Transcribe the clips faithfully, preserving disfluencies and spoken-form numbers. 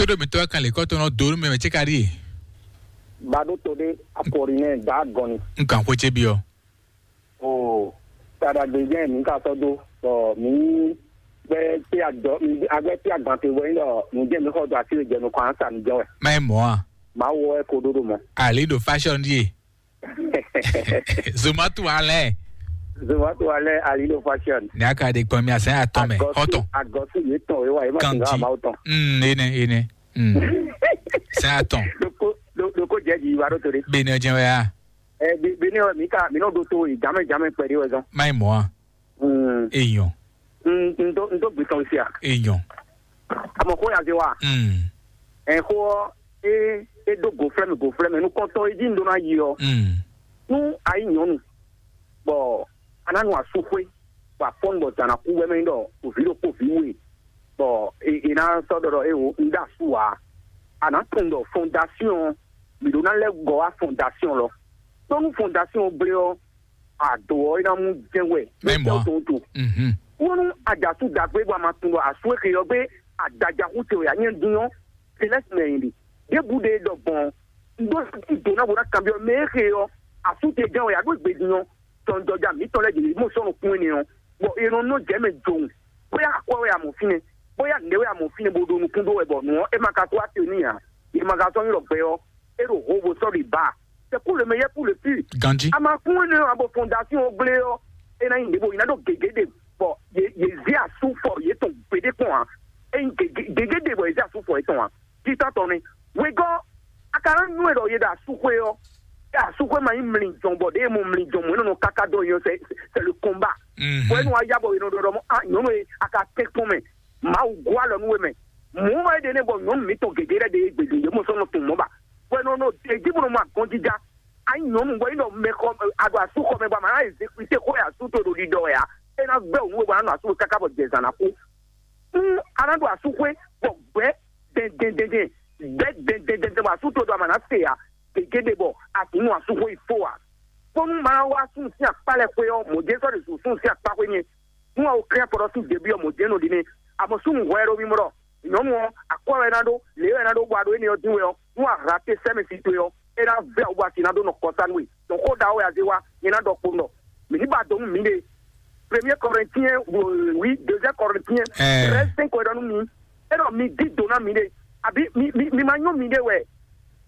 Tóɖó mǐtɔn wá kan lě kɔ́tɔn nɔ dó nú mɛ mɛ cé ka ɖíe? Baɖó to ɖé Apolinɛ́ɛ Daagɔnni. Un kan xwé ce byɔ́. O, taɖagbe jẹ́ mǐ ka sɔ́ dó, bɔ mǐ gbɛ́ tí agbɔn te wɛ nyí ɖɔ nǔ jẹ́ mǐ xɔ dó así jɛ nukɔn an sa nǔ jɛ wɛ. Má nyí mɔ̌ a? Mawu wɛ ko ɖó ɖo mɔ. Ali ɖo fashion ɖíe. Zomatu alɛ. Zomatu alɛ Ali ɖo fashion. Ní a ka ɖe kpɔn mi asɛn atɔn mɛ. Agɔsu, xɔtɔn. Agɔsu yě tɔn wíwá yìí má ti ká Ganji. Mawu tɔn. Mm, ene, ene. Mm. Sɛn atɔn. Ɖokó, ɖo-, ɖokó jɛ ji wa ɖó to ɖé. Bene jɛ wɛ a? Ɛ, be-, bene wɛ mi ka, mi nɔ ɖo to yi jamɛ jamɛ kpɛɖé wɛ zɔn. Má nyí mɔ̌ a? Mm. Eyɔn. N, n dó, n dó gbitɔn sia. Eyɔn. Amɔ xó ya zé wa. Mm. Ɛ, xó ɔ, é, é ɖó goflɛ́mɛ, goflɛ́mɛ, nukɔntɔn e jí n ɖó ná yi ɔ. Mm. Nú a yí nyɔ̌nu, bɔ a ná nu asúxwé, bɔ a fɔ́n bɔ zǎn ná kú wɛ mɛ nyí ɖɔ o vǐ ɖokpó vǐ we, bɔ è è ná sɔ́ ɖɔ ɖɔ éwo un ɖó asú ǎ. A nǎ tunwun ɖɔ fɔndasíɔn, mǐ ɖó ná lɛ́ gɔ́ wá fɔndasíɔn lɔ. Ɖó nú fɔndasíɔn gblé ɔ́, ado ɔ́ é ná mú jɛ́n wɛ. Mɛ mɔ̌ a? Tó to. Mhm. Wónú a ɖo asú dǎgbé bɔ a ma tunwun ɖɔ asú e xe ɔ́ gbé adajaxú ce wɛ ǎ nyɛ dín ɔ́, Celeste mɛ yin ɖe. Ɖěbǔ ɖe ɖɔ gbɔn un ɖó dó ná bó ná kanbyɔ́ mɛ e xe ɔ́, asú ce gán wɛ ǎ ɖó gbedun ɔ́, tɔnjɔja mǐtɔn lɛ́ɛ ɖě mɔ sɔ́ nukún énɛ́ ɔ́, bɔ è nɔ nɔ jɛ mɛ jowun, bóyá akwɛ́ wɛ a mɔ fínɛ́, bóyá nǔɖé wɛ a mɔ fínɛ́ bó ɖo nukún ɖó wɛ, bɔ nǔ ɔ́, é ma ka kó wá te n'i ǎ. È ma ka sɔ́ nyi ɖɔ gbɛ ɔ́, é ɖo ho bó sɔ́ ɖi ba. C'est pour le meilleur, pour le pire. Ganji. A ma kún énɛ́ ɔ́, ǎ bɔ fondation ɔ́ gblé ɔ́, é ná nyí nǔɖé bó nyí ná ɖó gěgé ɖe, bɔ yě yě zé asú fɔ yětɔn gbeɖé kpɔn ǎ. É nyí gěgé gěgé ɖe bɔ yě zé asú fɔ yětɔn ǎ. Títɔ́ tɔn nɛ́. Wegɔ́, a ka ná nywɛ́ ɖɔ yě ɖo asúxwé ɔ́, é asúxwé ma nyí mlinjɔn bɔ ɖěe mɔ mlinjɔn mɔ̌ é nɔ nɔ káká dó yɔ, c'est, c'est le combat. Mhm. Bɔ é nɔ wá yá bɔ è nɔ ɖɔ ɖɔ mɔ, ah, nyɔ̌nu e a ka tɛ́n kpɔ́n mɛ, Mawu gɔ́ alɔ nú we mɛ. Mɔ̌ wɛ é ɖe nɛ́ bɔ nyɔ̌nu mǐtɔn gěgé lɛ́ɛ ɖe e gbe ɖě yě mɔ sɔ́ nɔ tunwun mɔ̌ ba. Bɔ è nɔ nɔ è jí bó nɔ mɔ agɔnjija. A nyí nyɔ̌nu bɔ é nɔ mɛ xɔ, a ɖo asú xɔ mɛ bɔ a ma ná ezékwité xó e asú towe ɖo ɖiɖɔ wɛ ǎ. É ná gbɛ́ wǔ nú we bɔ a ná nɔ asú we káká bɔ jɛ zǎn ná kú. Nú a ná ɖo asúxwé bɔ gbɛ̌ dɛndɛndɛndɛn, gbɛ̌ dɛndɛndɛndɛn bɔ asú towe ɖo ama ná se ǎ, gěgé ɖe bɔ a sǐ nu asúxwé yi fó ǎ. Bónú ma wá súnnu sín akpá lɛ́ɛ xwé ɔ́, mɔ̌ jɛ́n sɔ́ ɖe zǒ súnnu sín akpá xwé nyɛ. Nú a wo klɛ́n afɔ ɖɔ sín debí ɔ́, mɔ̌ jɛ́n nɔ ɖi nɛ́. A mɔ súnnu hwɛ e ɖo mimɔ ɖɔ nyɔ̌nu ɔ́, akwɛ́ wɛ é ná ɖó, lě wɛ é ná ɖó bɔ a ɖo énɛ́ ɔ́ dín wɛ ɔ́, nú a ha te sɛ́ mɛ sin towe ɔ́, é ná vɛ́ wǔ bɔ a sǐ ná ɖó nɔ kɔ sá nú we. Dɔn xó ɖaxó wɛ a zé wá, nyɛ ná ɖɔ kpowun ɖɔ mǐ ní ba do nú mǐɖée. Premier Corinthiens, oui, deuxième Corinthiens, treize cinq wɛ ɖɔ nú mi. É ɖɔ mi dí do ná mǐɖée, àbí mi, mi, mi ma nyɔ́ mǐɖée wɛ.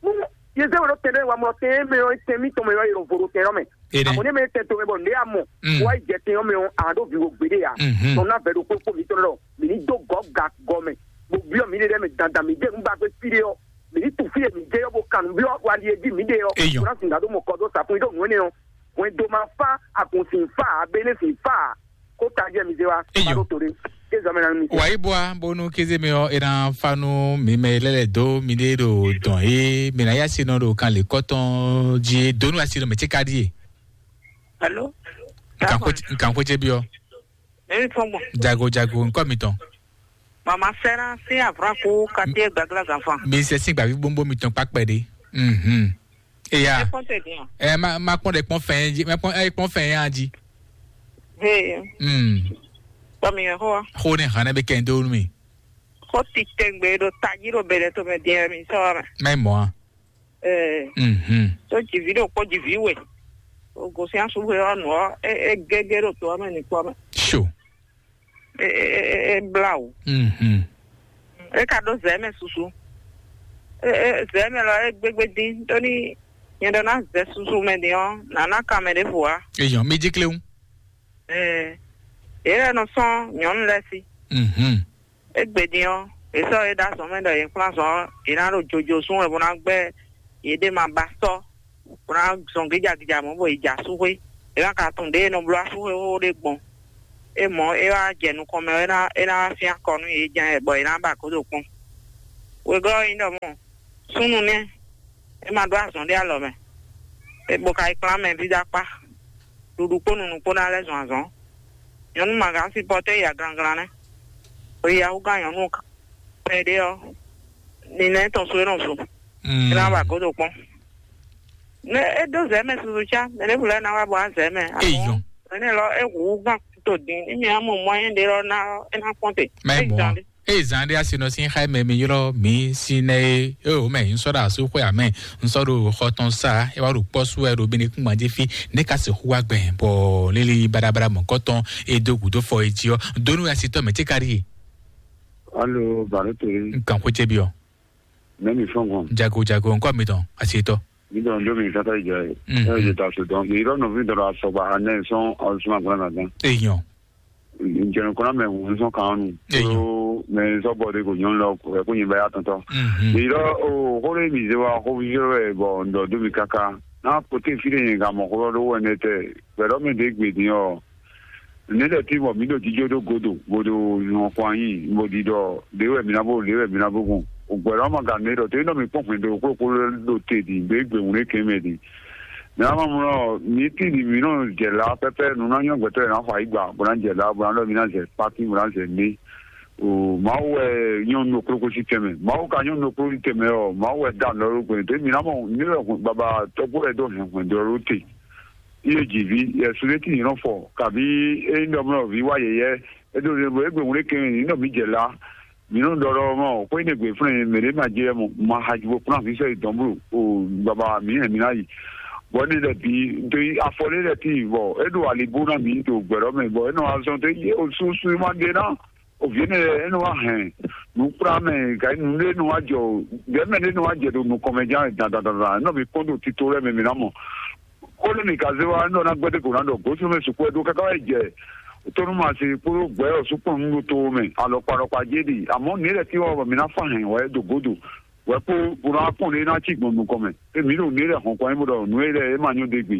Nú yě zé we ɖó tɛn ɖé wa mlɔ tɛn e mɛ ɔ́, tɛn mítɔn mɛ ɔ́, è nɔ vo ɖo tɛn ɔ́ mɛ. Àmọ́ ní mɛ tɛn to mɛ bɔ nǔɖé a mɔ, wá yi jɛ tɛn ɔ́ mɛ ɔ́, a nǎ ɖó vivo gbeɖé ǎ. Dɔn ná vɛ̌ ɖokpó kpó mǐtɔn ɖɔ mǐ ní dó gɔ̌ ga gɔ mɛ, bó byɔ́ mǐɖée lɛ́ɛ mɛ dandan mǐ jɛ nǔ ba gbé fí ɖé ɔ́, mǐ ní tu fí e mǐ jɛ ɔ́ bó kan nǔ byɔ́ ali e jí mǐɖée ɔ́, Eyɔn. Bó ná sǐ ná ɖó mɔ kɔ dó sa fún mì ɖó nǔ énɛ́ ɔ́. Hwɛndo ma fá, agun sin fá, abéné sin fá, kó tají ɛ mi zé wá, Eyɔn. Má ɖó to ɖé. Kézɔ mɛ ná nú mi. Wǎ yí bwa bónú kéze mɛ ɔ́, é ná fá nú mi mɛ lɛ́ lɛ̌ dó miɖée ɖo dɔn e mi ná yá sinɔ ɖo kan lě kɔ́tɔn jí é dó nú asi ɖo mɛ cé ka ɖíe. Alo? Nkan xwé nkan xwé cé byɔ́. Èmi fɔn gbɔn. Jago jago nkɔ mitɔn. Mama Sɛra sí Avraku Katie Gbagla Ganfan. Mi sɛ sí gbàgbé gbóngbó mitɔn kpákpɛ ɖé. Mhm. Eya. Ẹ kpɔn tɛ diyan. Ɛ ma ma kpɔn ɖe kpɔn fɛn jí, ma kpɔn ɛ kpɔn fɛn ya jí. Hey. Mm. Kpɔ mi yẹn xɔ wa. Xó ne hàn ne bɛ kɛ n dó nú mi. Xó ti tɛgbɛ ɖo tají ɖo bɛlɛ to mɛ diyan mi sɔ wa mɛ. Mɛ mɔ a. Ɛɛ. Mhm. Tó jìví ɖo kpó jìví wɛ. O gosín asúgbé wa nù ɔ, e e gégé ɖo to wa mɛ ní kpɔ mɛ. Sure. E e e e bla o. Mhm. E ka ɖó zɛ mɛ susu. E e zɛ mɛ lɔ e gbégbé dín tó ní nyɛ ɖɔ ná zɛ susu mɛ dín ɔ, nana kan mɛ ɖěvo wa. Eyɔn, mi jí kléwu. Ɛɛ. Yě lɛ nɔ sɔn nyɔ̌nu lɛ sí. Mhm. Égbé din ɔ́, è sɔ́ yě ɖó azɔ̌ mɛ ɖɔ yě kplɔ́n azɔ̌ ɔ́, yě ná ɖo jojo sún wɛ bó ná gbɛ́ yěɖée ma ba sɔ́, bó ná zɔn gíjagíja mɔ̌ bɔ yě jɛ asúxwé. Yě ná ka tunwun ɖěe è nɔ bló asúxwé xóxó ɖé gbɔn. É mɔ̌, é wá jɛ nukɔn mɛ ɔ́, é ná é ná wá syɛ́n akɔ nú yě jɛ́n bɔ yě ná ba gǒdo kpɔ́n. Wegɔ́ ɔ́ nyí ɖɔ mɔ̌, súnnu nɛ́, é ma ɖó azɔ̌ ɖé alɔ mɛ, é bó ka yi kplán mɛ ví dó akpá. Ɖuɖu kpó nunu kpó ná lɛ́ zɔn azɔ̌. Nyɔ̌nu ma gǎn sipɔtɛ́ ya glanglan nɛ́. Hweyǎhúgán nyɔ̌nu kpɛɖé ɔ́, ninlɛ́ tɔn sú é nɔ zun. Mm. É ná wa gǒdo kpɔ́n. Ne é dó zɛ mɛ susu cá, mɛ ɖěbǔ lɛ́ɛ ná wá bɔ á zɛ mɛ. Eyɔn. Mɛ nɛ lɔ é hu gán to din, ní mi á mɔ mɔyɛn ɖé lɔ ná é ná kpɔ́n te. Mɛ É mɔ. Zan ɖé. Eye zan ɖé asi nɔ sín xá mɛ mi ylɔ́ mǐ sín nɛ é, é o mɛ ń sɔ́ ɖo asú xwé amɛ, ń sɔ́ ɖo xɔ tɔn sá, é wá ɖo kpɔ́ sú wɛ ɖo bíní kúngban jí fí, ní ka sixú wá gbɛn, bɔ lílí baɖabaɖa mɔ̌kɔtɔn é dó gǔdo fɔ é jí ɔ́, dónú asitɔ mɛ tí ka ɖíe. Alo, baro to ye. Nkan xwé cé byɔ. Mɛ mi fɔn gbɔn. Jago jago, nkɔ mi tɔn, asitɔ. Mi dɔn do mi kata jɛ. Mhm. Ɛ je ta so dɔn. Mi rɔ no vi dɔn asɔgba anɛ sɔn ɔsuma gbɔn na gan. Eyɔn. Njɛnɛ kɔnɔ mɛ ŋun sɔn kan nu. Eyɔn. Ko mɛ sɔ bɔ de ko nyɔnu lɔ ko ko nyi ba ya tɔntɔ. Mhm. Mi rɔ o xore mi ze wa ko vi wɛ bɔ ndɔ do mi kaka. Na kote fi de yin ga mɔ xoro do wɛ ne tɛ. Bɛ dɔ mi de gbe din ɔ. Ne lɛ ti bɔ mi ɖo jijɔ ɖo godo, bo ɖo nyɔ kwan nyi, bo ɖi ɖɔ ɖe wɛ mi na bo, ɖe wɛ mi na bo gbɔn. Ogbɛ lɔ ma ga ne ɖɔ te nɔ mi kpɔn hwɛndo kpokpo ɖo te ɖi, ɖe gbe wun ɖe kɛn mɛ ɖi. Mi na ma mlɔ mi ti ɖi mi nɔ jɛ la pɛpɛ nu na nyɔ gbɛtɔ yɛ na fa yi gba, bo na jɛ la, bo na ɖɔ mi na zɛ pati, bo na zɛ ne. O Mawu wɛ nyɔnu nɔ kplokplo si tɛmɛ. Mawu ka nyɔnu nɔ kplokplo si tɛmɛ ɔ, Mawu wɛ da nɔ ɖo gbɛ. Te mi na mɔ ne lɛ baba tɔgbo wɛ dɔ hɛn hwɛndo ɖo te. Iye jǐví, Yɛsu ɖé tíin nɔ fɔ, kabí é nyí ɖɔ mlɔ vǐ wá yɛyɛ́, é ɖo ɖe bɔ é gbe wlé kɛn ní nɔ mǐ jɛ lá. Mǐ nɔ ɖɔ ɖɔ mɔ xwé ne gbe flɛ́n mɛ ɖé ma jɛ mɔ ma haji bo kplɔ́n afi sɔ́ yi dɔn blo o baba mǐ hɛn mǐ ná yi. Bɔ énɛ́ lɛ́ɛ bǐ ɖo yi afɔ lé lɛ́ɛ tíin bɔ é ɖo ali bó ná mǐ ɖo gbɛ̌ɖɔ́ mɛ bɔ é nɔ wá zɔn dó yé o susu ma ɖe ná. O vǐ énɛ́ lɛ́ɛ é nɔ wá hɛn nǔkplá mɛ gǎ nǔɖé nɔ wá jɔ o, gɛ̌mɛ ɖé nɔ wá jɛ ɖo nukɔn mɛ ján dandandandan é nɔ mǐ kpɔ́n ɖo tito lɛ́ɛ mɛ mǐ ná mɔ. Xó nú mì ka zé wá, un ɖɔ ná gbɛ́ dó gǒ ná ɖɔ gǒsúnú mɛ sukpɔ́ e ɖó káká wá yi jɛ tónúmasi kpódó gbɛ̌ ɔ́ sú kpɔn nú ɖo to mɛ alɔkpa alɔkpa jé ɖi. Amɔ̌ nǔ e lɛ́ cí wá bɔ mǐ ná fá hɛn wɛ ɖo gǒdo wɛ kpó bó ná kpɔ́n ɖé ná cí gbɔn nukɔn mɛ. É mǐ ɖo nǔ e lɛ́ hɔn kɔn nyi bó ɖɔ nǔ e lɛ́ é ma nyɔ́ ɖe gbe.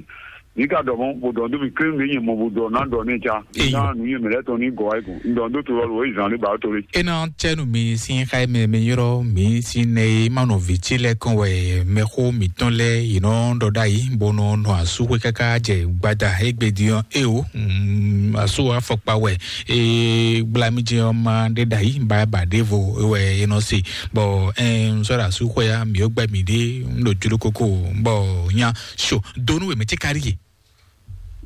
Mǐ ka ɖɔ mɔ̌ bó ɖɔ nú mì klé nǔ e nyɛ mɔ bó ɖɔ ná ɖɔ nɛ́ ca. Ná nǔ nyɛ mɛ lɛ́ɛ tɔn ní gɔ̌ wá yi gɔ̌n. Un ɖɔ nú dó to lɔ lo wǒ yi zǎn ɖé ba ó to lé. É ná cɛ́ nú mi sín xá e mɛ mi ylɔ́ mǐ sín nɛ e ma nɔ vǐ ce lɛ́ɛ kɔn wɛ mɛxó mǐtɔn lɛ́ɛ yi nɔ ɖɔ ɖ'ayǐ, bó nɔ nɔ asúxwé káká jɛ gbada égbé din ɔ́. É o, mm, asú afɔkpa wɛ é gbla mì jɛ ɔ́ ma ɖé ɖ'ayǐ, ba ba ɖěvo wɛ é nɔ se. Bɔ ɛn un sɔ́ ɖo asúxwé ya, mǐ ó gbɛ mǐ ɖé, un ɖo jló kókó, bɔ nya so donu wɛ mɛ ce kárí ye.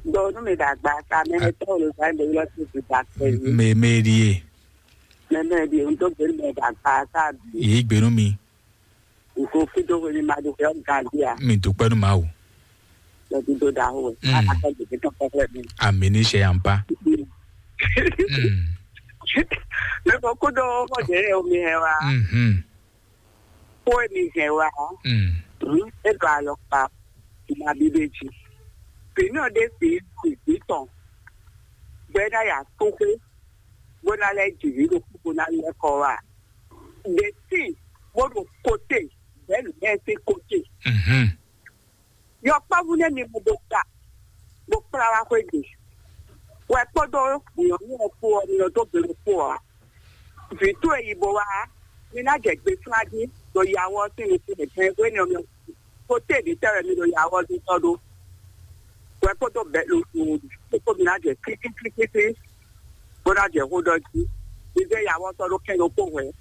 Donu mi dàgbà ta mɛ tɔn lo sa de lọ sí ti ta pẹ̀lú. Mɛ mɛ ɖi ye. Mɛ mɛ ɖi un tó gbé mɛ dàgbà ta bi. Yìí gbénu mi. Nko kí tó wé ní ma ɖo xyɔ gàdí a. Mi dúpẹ́ nu ma o. Lọ ti do da o. Mm. Ala kɛ gbèsè tán kɔkɔ mi. Àmì ní ṣe à ń pa. Mm. Mɛ ko kó dó mɔ jẹ omi hẹ wa. Mhm. Kó èmi hẹ wa. Mm. Mm. E do alɔ pa. Ìmọ̀ àbí bèjì. Pèmí ọ̀dẹ́ sì ìgbì tán. Gbẹ́dá yà tó pé. Bó ná lẹ́ jì rí lókù bó ná lẹ́ kọ́ wa. Ɖe tíin bó ɖo kote bɛ̌ nǔ lɛ́ɛ sín kote. Mhm. Yɔkpɔ́vú nɛ́ mi mɔ bó ta, bó kplá wá xwégbe. Wɛ kpódó nyɔ̌nu ɔ́ kpó ɔ́, mi nɔ dó gbe ɖokpó ɔ́. Vǐ towe yi bo wá, mi ná jɛ gbe flá jí ɖo yawɔ sín nukún mǐtɔn e hwénɛ́ ɔ́ mi kote mǐtɔn wɛ mi ɖo yawɔ jí tɔ́ ɖó. Wɛ kpódó bɛ̌ lo kpó mi ná jɛ klíklíklíklí. Bó ná jɛ xó ɖɔ jí. Mi zé yawɔtɔ́ ɖó kɛn ɖokpó hwɛ̌.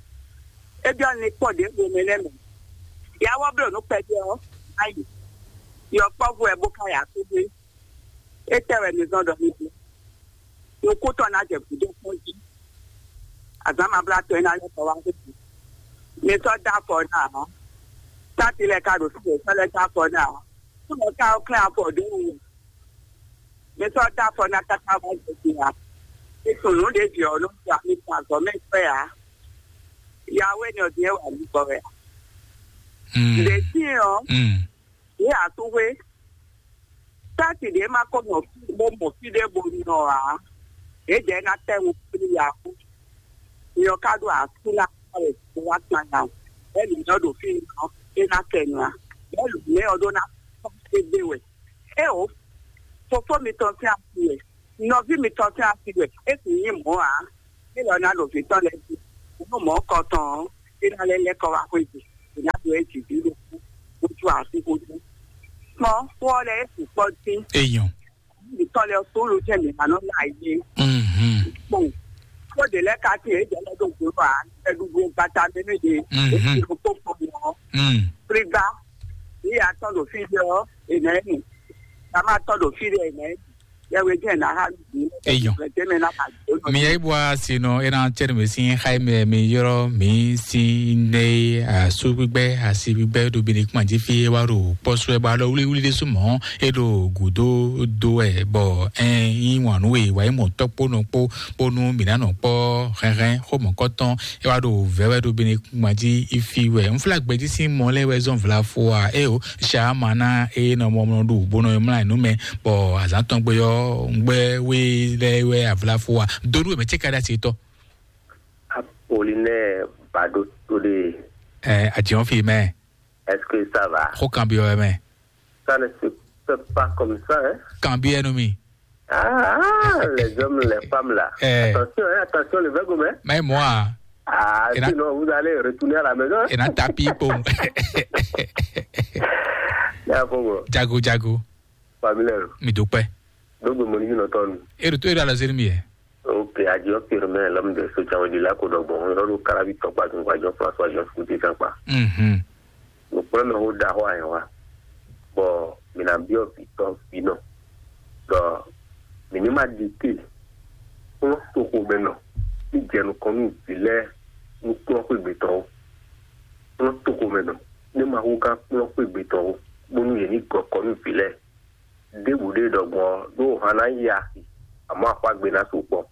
É byɔ́ ni kpɔ́ ɖěvo mɛ lɛ́ɛ mɛ. Yawɔ́ bló nǔ kpɛɖé ɔ́, ná yi. Yɔkpɔ́vú wɛ bó ká ya kúdé. Étɛ́ wɛ mi zɔ́n ɖɔ mi ɖe? Nukúntɔ́ ná jɛ gǔdo kpɔ́n jí. Azǎn ma blá tɔn é ná lɛ́ kɔ wá xwé. Mi sɔ́ dó afɔ ná ǎ. Táti lɛ́ɛ ka ɖo fí wě sɔ́ lɛ́ dó afɔ ná ǎ. Kúnɔ ká ɔ́ klɛ́n afɔ ɖě wú. Mi sɔ́ dó afɔ ná káká wá jɛ din ǎ. Mi tunwun nǔ ɖě vǐ ɔ́ nɔ ɖu ami tɔn azɔ̌ mɛ kpɛ́ ǎ. Yahweh ni ɔ́ din é wà ní gbɔ wɛ ǎ. Mm. Ɖě sín ɔ́, Mm. yě asúxwé. Táti ɖě ma ko mɔ fí bó mɔ fí ɖé bo nɔ ǎ. Yě dɛ̌ ná tɛ́ wú kplí yǎ kú. Nyɔ ka ɖo asú ná wá wɛ bó wá kpan nya o. Bɛ́ nǔ nyɔ ɖo fí nɔ é ná kɛ nɔ a? Bɛ́ nǔ nyɛ ɔ́ ɖó ná kpɔ́n égbé wɛ. É o, fofó mitɔn sín asi wɛ, nɔví mitɔn sín asi wɛ, é sì nyí mɔ̌ ǎ. É lɔ ná ɖo vǐ tɔn lɛ́ɛ jí, nú mɔ̌ kɔ tɔn ɔ́, é ná lɛ́ lɛ́ kɔ wá xwé jí, è nǎ ɖo é jǐ ví ɖokpó, bó jú asú xó jú. Kpɔ́n, xó ɔ́ lɛ́ɛ é sukpɔ́ dín. Èèyàn. Vǐ tɔn lɛ́ɛ sólo jẹ́ mi ma nɔ ná yé. Mhm. Kpɔn, xó ɖě lɛ́ɛ ka tín, é jɛ lɛ́ ɖo gbǒ ǎ, é ɖu gbata mɛ nú yě, Mhm. é sì ɖo kpó kpɔn mɔ̌. Mm. Pligba, ní ya tɔn ɖo fí ɖé ɔ́, è nǎ ɛ nu. Ká má tɔn ɖo fí ɖé, è nǎ ɛ nu. Yɛwe jẹ́ ná há mi. Eyɔn. Tẹ́mɛ ná ka dó. Mi yɛ ibu a si nɔ ena tsɛri mi si xa mi mi yɔrɔ mi si ne a su gbígbɛ a si gbígbɛ do bi ni kuma ji fi e wa ɖo kpɔsɔ e ba lɔ wuli wuli de su mɔ e ɖo gudo do ɛ bɔ ɛn yi wan nu e wa yi mɔ tɔkpo nɔ kpo kpo nu mi na nɔ kpɔ hɛnhɛn xo mɔ kɔtɔn e wa ɖo vɛ wɛ do bi ni kuma ji ifi wɛ nfla gbɛji si mɔ lɛ wɛ zɔn vla fo a e o Shamana e nɔ mɔ mɔ ɖu bó nɔ mlá nú mɛ bɔ azǎn tɔn gbé ɔ́ ngbɛ wé lɛ wɛ avla fo wa donu mɛ tse ka ɖe asi tɔ. Apolinɛ Bado Tole. Ɛ adiɔn fi mɛ. Est-ce que ça va? Xo kan bi ɔɛ mɛ. Ça ne se fait pas comme ça, hein? Kan bi ɛnu mi. Ah, les hommes, les femmes là. Eh. Attention, hein, attention, le verbe, hein. Mais moi. Ah, sinon, vous allez retourner à la maison. Et na tapi pom. Ya fogo. Jago jago. Famille. Mi dúpẹ́. Donc, mon ami, non, ton. Et retour à la zéro mi. Ok, adieu, firme, l'homme de ce Tchaoué de la Côte d'Or. Bon, on a le carabi, ton pas, ton voyage, François, Jean Fouti, sans pas. Mhm. Donc, premier, on a, ouais, ouais. Bon, mi na biɔ fi tɔn fi nɔ. Donc, mi ni ma di te. Kplɔ́n toxomɛnɔ. Ní jɛ nukɔn nú vǐ lɛ́ɛ nú kplɔ́n xwé gbětɔn ó. Kplɔ́n toxomɛnɔ. Ní ma hú gán kplɔ́n xwé gbětɔn ó. Bónú yě ní gɔ kɔ nú vǐ lɛ́ɛ. Ɖěbǔ ɖé ɖɔ gbɔn ɔ́, ɖó han ná yi axi, amɔ̌ axwágbe ná sukpɔ́.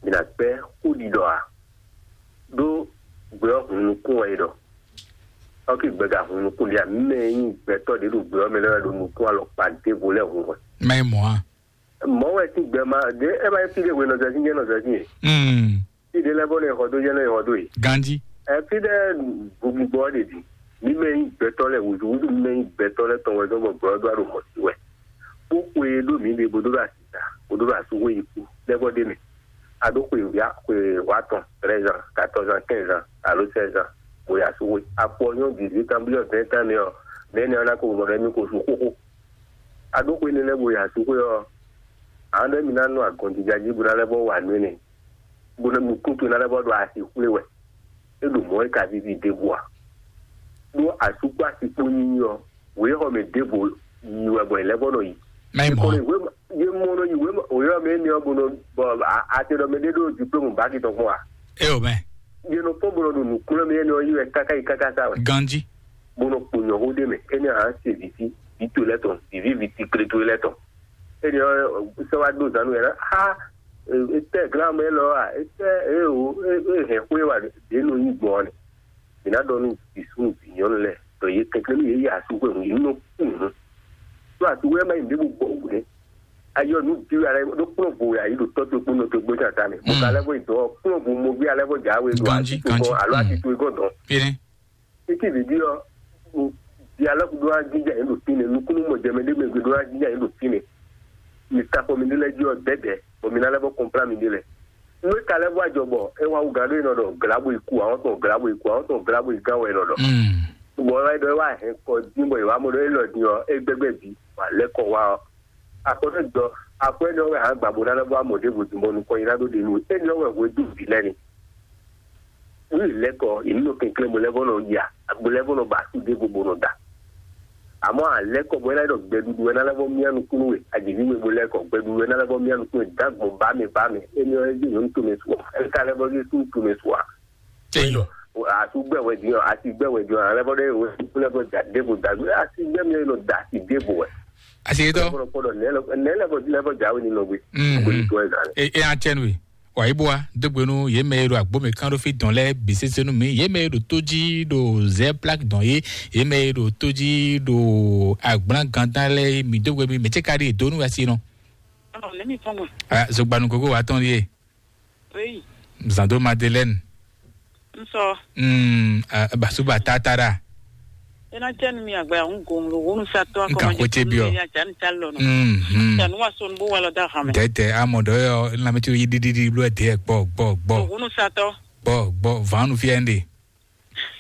Mi ná gbɛ́ xó ɖiɖɔ ǎ. Ɖó gbɛ ɔ́ hun nukún wɛ é ɖɔ. Ɔ́ ké gbɛ ga hun nukún ɖé ǎ. Mɛ e nyí gbɛtɔ́ ɖě ɖo gbɛ ɔ́ mɛ lɛ́ɛ wɛ ɖo nukún alɔkpa ɖěvo lɛ́ɛ hun wɛ. Mɛ mɔ̌ a? Mɔ̌ wɛ sín gbɛ ma ɖě é ma nyí fí ɖé hwenu ɔ́ zɛ sín jɛ́n nɔ zɛ sín e. Mm. Fí ɖé lɛ́ɛ bɔ nɔ e xɔ dó jɛ́n nɔ e xɔ dó e. Ganji. Ɛ fí ɖé bubugbɔ ɔ́ ɖe ɖi. Mi mɛ nyí gbɛtɔ́ lɛ́ɛ wǔzúwúzú mi mɛ nyí gbɛtɔ́ lɛ́ɛ tɔn wɛ zɔ́n bɔ gbɛ ɔ́ ɖó alɔ mɔ̌ sí wɛ. Bó xwe e ɖó mǐ ɖe bó ɖó ɖo asǐ ta, bó ɖó ɖo asúxwé yi kú lɛ́ vɔ ɖ'é mɛ. A ɖó xwe wǐ xwe wǎ tɔn, treize ans, quatorze ans, quinze ans, alo seize ans, bó yi asúxwé. Akpɔ nyɔ́ dix-huit ans, blí ɔ́, vingt ans nɛ́ ɔ́, nɛ̌ nɛ́ ɔ́ ná ko mɔ ɖɔ émí ko sú xóxó. A ɖó xwe énɛ́ lɛ́ɛ bó yi asúxwé ɔ́, a nɔ ɖɔ émí ná nɔ agɔnjija jí bó ná lɛ́ vɔ wa nǔ énɛ́, bó ná nukún towe ná lɛ́ vɔ ɖo asǐ xwlé wɛ. É ɖo mɔ̌ é ka víví ɖěbǔ ǎ. Ɖó asú kpó asi kpó nyínyí ɔ́, wěxɔ mɛ ɖěvo yi wɛ bɔ è lɛ́ vɔ nɔ yi. Mɛ mɔ. Kɔnɔ wě yé mɔ nɔ yi wě wě ɔ́ mɛ énɛ́ ɔ́ bó nɔ bɔ a- a te ɖɔ mɛ ɖé ɖó diplôme baki tɔn kpɔ́n a. E o mɛ. Yé nɔ fɔ́n bó nɔ ɖo nǔkplɔ́n mɛ énɛ́ ɔ́ yi wɛ káká yi káká sá wɛ. Ganji. Bó nɔ kpo nyɔ̌xó ɖé mɛ énɛ́ ɔ́ a se vǐ sí vǐ towe lɛ́ɛ tɔn vǐví vǐ tikle towe lɛ́ɛ tɔn. Énɛ́ ɔ́ sɛ wá ɖó zǎn nú yɛ ná a etɛ glán mɛ élɔ́ a etɛ e o e hɛn xwé wa ɖě nɔ nyi gbɔn ɔ́ nɛ. Mǐ ná ɖɔ nú vǐ súnnu vǐ nyɔ́nu lɛ́ɛ ɖɔ yě kɛnklɛ́n nú yě yi asúxwé hǔn yě nɔ kú hǔn. Ɖó asúxwé ɛ má yi nǔɖé bó gbɔ wǔ nɛ́. Ayɔ nǔ bí wɛ alɛ ɖó kplɔ́n vo wɛ ayǐ ɖo tɔ́ towe kpó nɔ towe gbó tata mɛ. Mo ka lɛ́ vɔ yi dɔn ɔ́, kplɔ́n vo mo gbé alɛ vɔ dza we ɖo Ganji, asúxwé ganji, gɔ́n alo mm. Así towe gɔ́n dɔn. Fine. Títí vǐví ɔ́, di alɔ kudo wá jija yín ɖo fínɛ, nukúnnú mɔ jɛmɛ ɖé mɛ gbe ɖó wá jija yín ɖo fínɛ. Mi ta xɔ mi ɖé lɛ́ɛ jí ɔ́ dɛ̌dɛ̌, bɔ mi ná lɛ́ vɔ kɔnplá mi ɖé lɛ́ɛ. Nú é ka lɛ́ vɔ ajɔ bɔ é wá wú gǎn ɖó é nɔ ɖɔ glǎbo yi ku, àwọn tɔn glǎbo yi ku, àwọn tɔn glǎbo yi gán wɛ é nɔ ɖɔ. Mm. Bɔ é wá ɖɔ é wá hɛn kɔ dín bɔ è wá mɔ ɖɔ é lɔ din ɔ́, é gbɛgbɛ bǐ, bɔ alɛ́ kɔ wá ɔ́. Akɔnɛgbɔ akwɛ́nɛ ɔ́ wɛ hǎn gbǎ bó ná lɛ́ vɔ amɔ ɖěvo din bɔ nukɔn nyi ná ɖó ɖe nú we. Énɛ́ ɔ́ wɛ hwedú vǐ lɛ́ɛ ni. Wí lɛ́kɔ yě ní nɔ kɛnklɛ́n bo lɛ́ vɔ nɔ ya, bo lɛ́ vɔ nɔ ba asú ɖěvo bo nɔ da. Àmọ́ àlɛ́kɔ bɔ é ná ɖɔ gbɛɖuɖu wɛ ná lɛ́ vɔ myá nukúnnú we, àjèjì we bo lɛ́kɔ gbɛɖuɖu wɛ ná lɛ́ vɔ myá nukúnnú we dǎgbɔn bá mɛ bá mɛ. Énɛ́ ɔ́ é jí nyɔ̌nu tomɛ su ɔ́, é ka lɛ́ vɔ zé súnnu tomɛ su ǎ. Eyɔ. Asú gbɛ wɛ din ɔ, asi gbɛ wɛ din ɔ, alɛ bɔ ɖe wɛ kúlɛ bɔ ja ɖěvo da gbé asi gbɛ mi nɔ da asi ɖěvo wɛ. Asi yɛ tɔ. Kpɔɖɔ kpɔɖɔ nɛ lɛ nɛ lɛ bɔ lɛ bɔ ja wɛ ni nɔ gbé. Mm. Gbé ni tɔ ɛ zan. E e atsɛnu ye. Wa ibo wa dogbe nu ye mɛ ye ɖo agbo mɛ kan ɖo fi dɔn lɛ bi sese nu mi ye mɛ ye ɖo to ji ɖo zɛ plak dɔn ye ye mɛ ye ɖo to ji ɖo agblan gandan lɛ mi dogbe mi mɛ tse ka ɖi do nu asi nɔ. Ɔn ne mi fɔn mɔ. Ah, zogbanu gogo wa tɔn ye. Oui. Zando Madeleine. N sɔ. Mm, ah, basuba tatara. Ena cɛ nu mi agba ya ŋu gomlo wonu satɔ. N ka ko tse biɔ. Ya jan ta lɔ nɔ. Mm, mm. Tanu wa sɔn bo wa lɔ da hame. Dɛdɛ amɔ dɔ yɔ lamɛtsi yi dididi blo ɛdɛ gbɔ gbɔ gbɔ. Wonu satɔ. Gbɔ gbɔ vanu fi ɛnde.